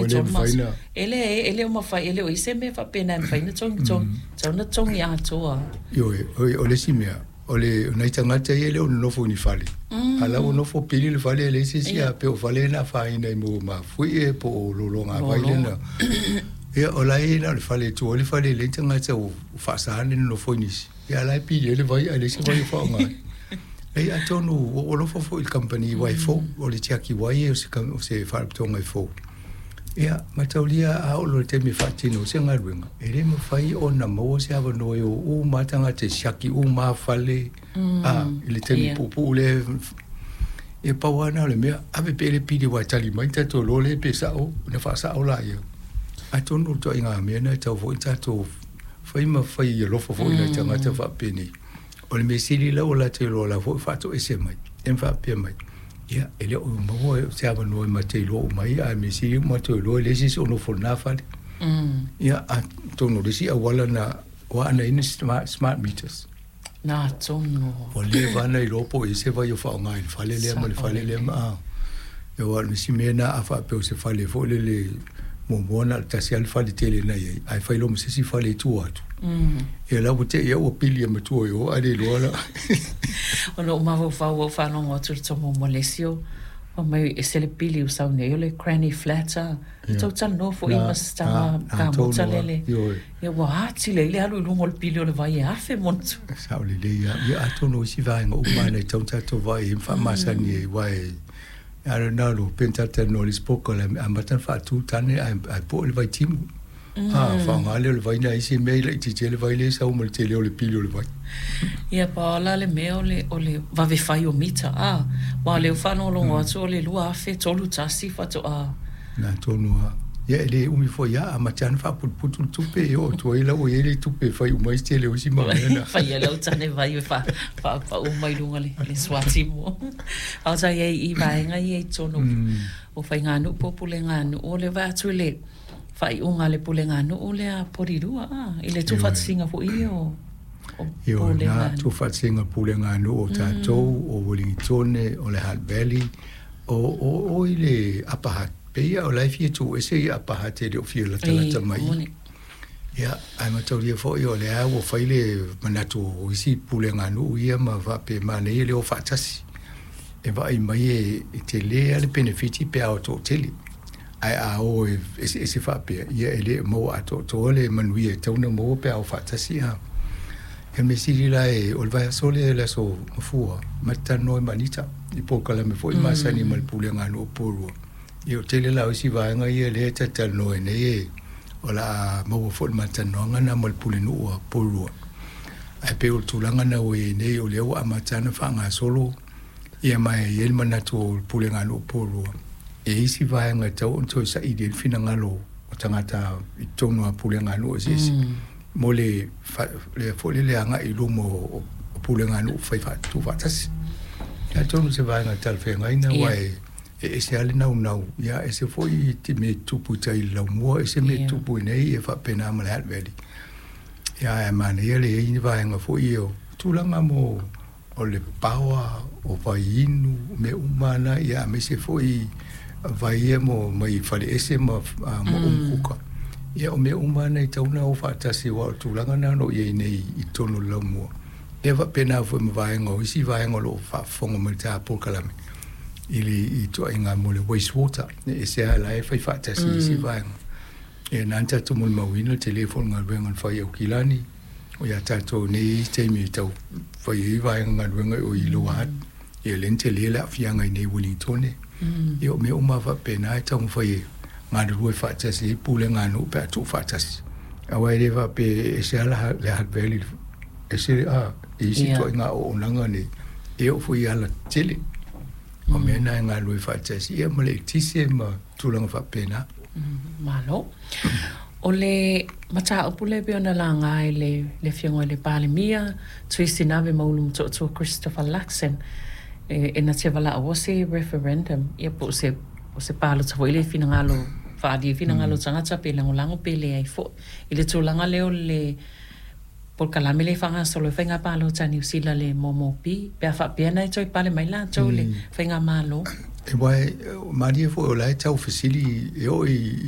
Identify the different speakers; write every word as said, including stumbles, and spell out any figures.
Speaker 1: le
Speaker 2: le
Speaker 1: tolu
Speaker 2: mafai
Speaker 1: masina.
Speaker 2: Na.
Speaker 1: E le e le o mafai, e le o i se mea faapena e mafai ona togi togi tatau ona togi atoa.
Speaker 2: Ioe, o le isi mea, o le nai tagata ia e le o nonofo i ni fale. A la ua nofo pili le fale e leai se isi a pe o fale na afaina i mo mafuie po o lologa vai lena. Ia o la e na o le fale e tua ai le fale e leai ni tagata ua faasa le nonofo i nisi. Ia a la e pili ai le vai ae leai se vai o faaaoga ai. Leai atonu ua ou alofa foi i le kamupani vai fou, o le tiaki vai o se o se faalapotopotoga e fou. Ia mataulia a oo loa i le taimi e faatino ai se galuega, e le mafai ona maua se avanoa e o uma lava tagata e siaki uma lava fale a i le taimi puupuu lea. Ia pau lava lena o le mea, ave pea le pili aua e tali mai tatou iloa lea pe sao ona faasao laia. Atonu o le ituaiga mea lena e tatau foi ona tatou fai ma fai alofa foi i nai tagata faapenei. O le mea sili la ua latou iloa o la foi ua faatoese mai ia ma faapea mai, ia e le o maua se avanoa e matou te iloa uma ai, ae mea sili ua matou iloa e leai se isi o nofo i lena fale. Ia atonu o le isi auala na ua ana i ai smart, smart meters.
Speaker 1: Na tonu.
Speaker 2: Ua leva ona iloa po o i ai se vai o faaaoga i le fale lea ma le fale lea ma a. Ia aua o le isi mea lena a faapea o se fale foi lele muamua na o le tasi lava le fale tele na i ai, ae fai loa ma se isi fale i tua atu. Ia la ua te i au ua pili e matua i o ae le iloa la.
Speaker 1: Ona ou mafaufau ua ou faalogo atu i le tomo mo le isi o fai mai e ese le pili ua sau nei o le granny flat a. Tou talanoa foi ma se tama kamuta lele. Ia ua atili ai le alu i luga o le pili o le vai e afe ma ona tupu.
Speaker 2: Sao lelei lava. Ia atonu o isi vaega uma lava e tatau ona tatou vaai i ai ma faamasani ai aua e I don't know, pe na talatalanoa i le isi polokalame, amata ona faatu tane ae ae poe le vaitimu. A faaaoga lea o le vai nai isi mea e laitiiti ai le vai lea e sau ma le tele o le pili o le vai.
Speaker 1: Ia pau la le mea o le o le vave fai o mita a, aua o lea ua faalogologo atu o le lua afe tolu tasi faatoa.
Speaker 2: Na tonu lava. Ia e le umi foi lava, amata lava ona faaputuputu le tupe e oo atu ai la ua i ai le tupe e fai uma ai se tele o isi mau mea na.
Speaker 1: Fai ai lau tane vai e faapauu mai luga le le suatimu. A o sa i ai i vaega ia i totonu o faiganuu po o puleganuu, o le vaai atu i le faaiuga a le puleganuu lea Porirua a, i le tuufaatasiga foi ia o o
Speaker 2: Ioe, na
Speaker 1: puleganuu.
Speaker 2: Tuufaatasiga o puleganuu o tatou, o Ueligitone, o le Hutt Valley, o o o i le Upper Hutt. Pei o la e fia tuuese ia Upper Hutt e le o fia latalata
Speaker 1: E
Speaker 2: mai.
Speaker 1: moni.
Speaker 2: Ia, ae mataulia foi o lea ua fai le manatu o isi puleganuu ia ma faapea manaia le o faatasi. E vaai mai e e tele lava le penefiti pe a o toatele. Ae a o e eseese faapea, ia e le maua atoatoa le manuia e tatau ona maua pe a o faatasi a. Ia mea sili la e o le vaiaso lea le aso Gafua, ma te talanoa ai ma Anita i polokalame foi masani ma le puleganuu o Porirua. Ia o tele la o isi vaega ia lea e talatalanoa ai nei e o le a maua foi le ma talanoaga lena ma le pulenuu a Porirua. Ae pei o le tulaga lena ua i ai nei o lea ua amata ona faagasolo ia ma e i ai le manatu o le puleganuu o Porirua e i ai isi vaega e tatau ona toe saili ai le finagalo o tagata i totonu o puleganuu eseese mo le le foi lele agai i luma o puleganuu fai tuufaatasi. Atonu o se vaega talafeagai lena aua e e ese lava le naunau, ia ese foi te mea e tupu i tai i le laumua, ese mea e tupu i inei ia faapena ma le Hutt Valley. Ia ae manaia le i ai ni vaega foi ia o tulaga mo o le power, o vai inu, o mea uma lava na, ia aemaise foi vai ia mo mai faleese ma ma umukuka. Ia o mea uma lava na e tatau ona o faatasi aua o le tulaga lena o lo o i ai nei i totonu o le laumua. Ia faapena foi ma vaega o isi vaega o lo o faafofoga mai i le ta polokalame i le ituaiga mo le waste water. E ese lava la e fai faatasi i isi vaega. Ia na ona tatou molimauina le tele foi o le galuega na fai e Aukilani, o ia tatou nei taimi e tau fai ai vaega galuega o i Lower Hutt, ia lea na tele le aafiaga i inei i Ueligitone. Ia o mea uma lava faapena e taumafai e galulue faatasi ai puleganuu pe a tuufaatasi. Aua e le faapea e ese lava le Hutt Valley ese a i isi ituaiga auaunaga nei, e oo foi i alatele. O mea na e galulue faatasi ia ma le eletise ma tulaga faapena.
Speaker 1: Malo. O le mataupu lea pei ona laga e le le Afioga i le Palemia, Tui Sinave ma Ulumatootua Christopher Luxon, e e na te valaauina se referendum ia po o se o se palota foi lea e finagalo faaalia ai finagalo o tagata pe lagolago pe leai foi i le tulaga lea o le polokalame lea e faagasolo ai faiga palota a Niu Sila le M M P pe a faapea na e toe pale mai latou i le faigamalo.
Speaker 2: E aua e malie foi o la e taufesili e oo i